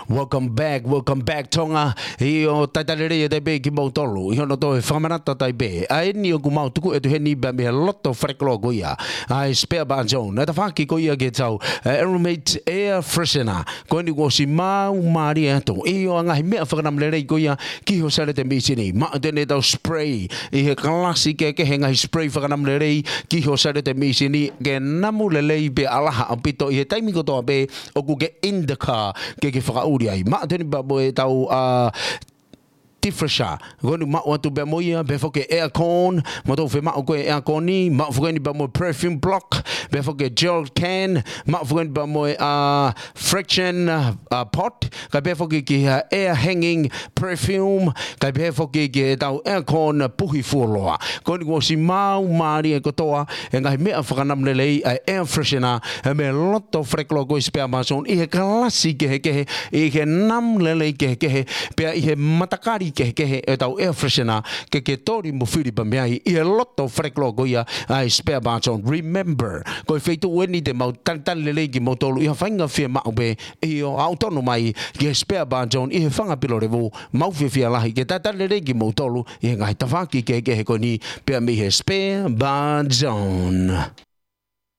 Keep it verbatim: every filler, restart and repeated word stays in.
Welcome back, welcome back Tonga. ʻIo, talitali lelei atu pē kimoutolu ʻi hono toe fakamanatu atu pē ʻa eni ʻoku mau tuku atu heni pea mei he loto falelotu ko ia ʻa e spare bar zone, ʻa e tafaʻaki ko ia ki heʻetau, ē, Aromate air freshener. Ko eni kuo ʻosi maumālie atu ʻi he ngaahi meʻa fakanamulelei ko ia ki ho saliote mīsini. Maʻu atu eni ʻetau spray ʻi he kalasi kehekehe, ngaahi spray fakanamulelei ki ho saliote mīsini ke namu lelei pea ʻalaha ʻaupito ʻi he taimi kotoa pē ʻoku ke in the car ke ke fakaʻuli ai. Maʻu atu eni pea mo ʻetau, ā, defresher. Ko eni maʻu atu pea mo ia, pehē foki ki he aircon, mo tau fie maʻu ko e aircon ni, maʻu foki eni pea mo e perfume block, pehē foki ki he jerry can, maʻu foki eni pea mo e, ā, friction, ā, pot, kae pehē foki ki he air hanging perfume, kae pehē foki ki heʻetau aircon puhi fuoloa. Ko eni kuo ʻosi maumālie kotoa ʻa e ngaahi meʻa fakanamulelei ʻa e air freshener, ē, mei he loto falelotu ko e spare bar zone ʻi he kalasi kehekehe, ʻi he namu lelei kehekehe, pea ʻi he matakali kehekehe ʻetau air freshener ke ke toli mo fili pē mei ai ʻi he loto falelotu ko ia ʻa e spare bar zone. Remember, ko e feituʻu eni te mau talitali lelei kimoutolu ʻi ha faʻahinga fiemaʻu pē. ʻIo, aʻu tonu mai ki he spare bar zone ʻi he Fanga Pilo Levu. Mau fiefia lahi ke talitali lelei kimoutolu ʻi he ngaahi tafaʻaki kehekehe ko eni pea mei he spare bar zone.